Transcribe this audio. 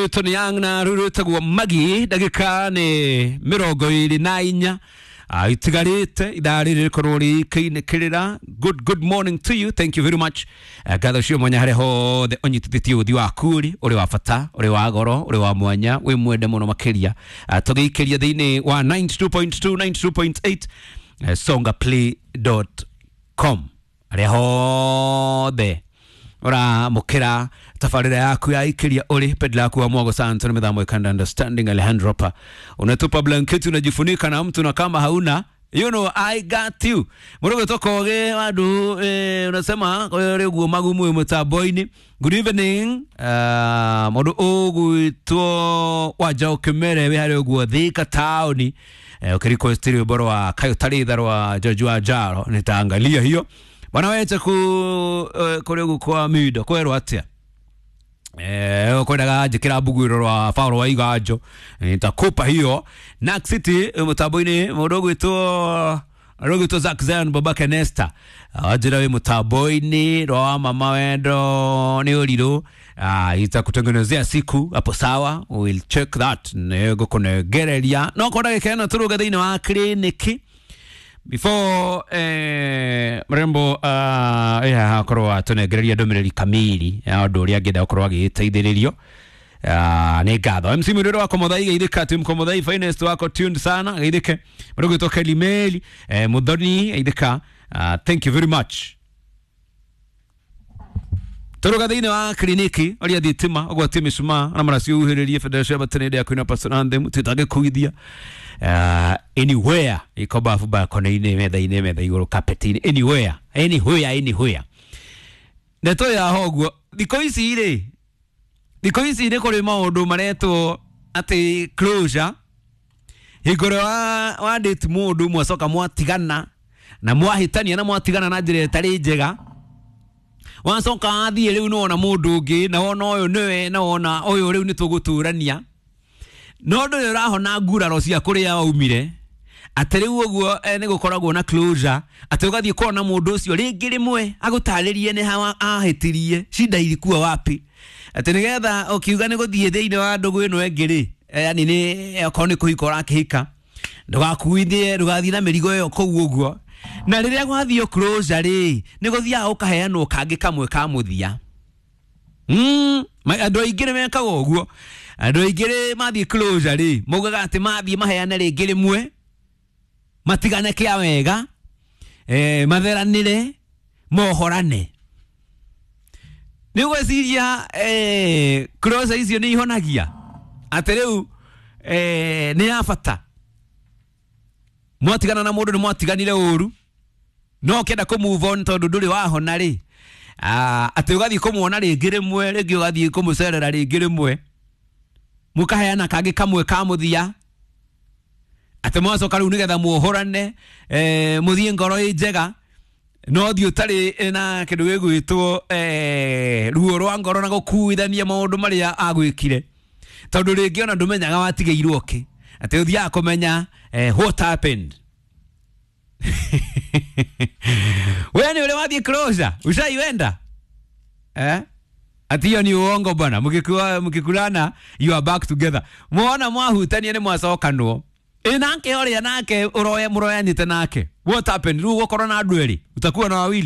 Tony Young na ruru tagwo Magi ndagika ni 24 itigarite ithaa rĩrĩ rĩkorwo rĩkĩinĩkĩrĩra. Good morning to you, thank you very much. Ngatho cio mwanya harĩa hothe ũnyitithĩtie ũthi waku rĩ ũrĩ wa bata, ũrĩ wa goro, ũrĩ wa mwanya, wĩ mwende mũno makĩria. Tũgĩikĩria thĩinĩ wa 92.2 92.8, songaplay.com harĩa hothe uramukira tabarira yaku ya ikiria uri pedla yaku wa mwago santo ni mithamo ikanda understanding Alejandro pa unatupa blanketi unajifunika na mtu na kama hauna, you know I got you murugo tokoge wadu unasema rĩguo magumu mutambo-inĩ. Good evening, mũndũ ũgwĩtwo Wanjaũ Kĩmere wĩ harĩa ũguo Thika taũni, ũkĩrequest rwĩmbo rwa Kaĩ Ũtarĩ Tha rwa George Wanjaro, nitaangalia hiyo bwana weche ku kũrĩ ũguo kwa mindo kwerwo atĩa kwendaga njĩkĩra mbuguĩro rwa Paul wa Iganjo, nitakupa hiyo. Nack City mũtambo-inĩ mũndũ ũgwĩtwo Zack Zion babake Nesta wanjĩra wĩ mũtambo-inĩ rwa wa mama wendo nĩ ũrirũ, itakutengenezea siku hapo, sawa, we'll check that nĩngũkũnengereria no kwa ndagĩka ĩno tũrũge thĩinĩ wa kliniki before mrembo yeah, akorwo atũnengereria ndũmĩrĩri kamili ya ũndũ ũrĩa angĩenda gũkorwo agĩteithĩrĩrio. Nĩ ngatho MC Mũrĩro wako Mũthai geithĩka team Komothai finest wako tuned sana geithĩke mũndũ gwĩtwo Kelly Meli, Muthoni geithĩka, thank you very much. Tũrũga thĩinĩ wa kliniki ũrĩa thitima ũgwatie mĩcumaa na maraciuhĩrĩrie federation ya batenende ya kwĩna personal anthem tũtangĩkuithia anywhere iko bafu balcony-inĩ metha-inĩ metha igũrũ carpet-inĩ anywhere anywhere anywhere ndeto ya ho ũguo thikũ ici rĩ, thikũ ici nĩ kũrĩ maũndũ maretwo atĩ closure hingo ĩrĩa wa date mũndũ mwacoka mwatigana na mwahĩtania na mwatigana na njĩra ĩtarĩ njega, wacoka wathiĩ rĩu nĩwona mũndũ ũngĩ na wona ũyũ nĩwe na wona ũyũ rĩu nĩtũgũtũrania no ndũrĩ ũrahona nguraro cia kũrĩa waumire atĩ rĩu ũguo nĩ gũkoragwo na closure atĩ ũgathiĩ kuona mũndũ ũcio rĩngĩ rĩmwe agũtarĩrie nĩ ha ahĩtirie shida ilikuwa wapi atĩ nĩgetha ũkiuga nĩ gũthiĩ thĩinĩ wa ndũgũ ĩno ĩngĩ rĩ, yani nĩ okorwo nĩ kũhika ũrakĩhika ndũgakuithie ndũgathiĩ na mĩrigo ĩyo kũu ũguo na rĩrĩa gwathiĩ closure rĩ nĩ gũthiaga ũkaheanwo kangĩ kamwe ka mũthia. Andũ aingĩ nĩ mekaga ũguo andũ aingĩ rĩ mathiĩ closure rĩ maugaga atĩ mathiĩ maheane rĩngĩ rĩmwe matigane kĩa wega, matheranĩre mohorane nĩ ũgwĩciria closure icio nĩ ihonagia atĩ rĩu nĩ ya bata mwatigana na mũndũ nĩ mwatiganire ũru no ũkĩenda kũ move on tondũ ndũrĩ wahona rĩ atĩ ũgathiĩ kũmuona rĩngĩ rĩmwe rĩngĩ ũgathiĩ kũmũcerera rĩngĩ rĩmwe mũkaheana kangĩ kamwe ka mũthia atĩ mwacoka rĩu nĩgetha muohorane mũthiĩ ngoro ĩ njega no thiĩ ũtarĩ na kĩndũ gĩgwĩtwo ruo rwa ngoro na gũkuithania maũndũ marĩa agwĩkire tondũ rĩngĩ ona ndũmenyaga watigĩirwo kĩ atĩ ũthiaga kũmenya what happened. We nĩ ũrĩ wathiĩ closure ushaiwenda ati hiyo ni uongo bwana, mkikulana you are back together mwona mwahutania nĩ mwacokanwo ĩ nake ũrĩa nake ũroya mũroyanĩte nake what happened rĩu ũgũkorwo na andũ erĩ utakuwa na wawili.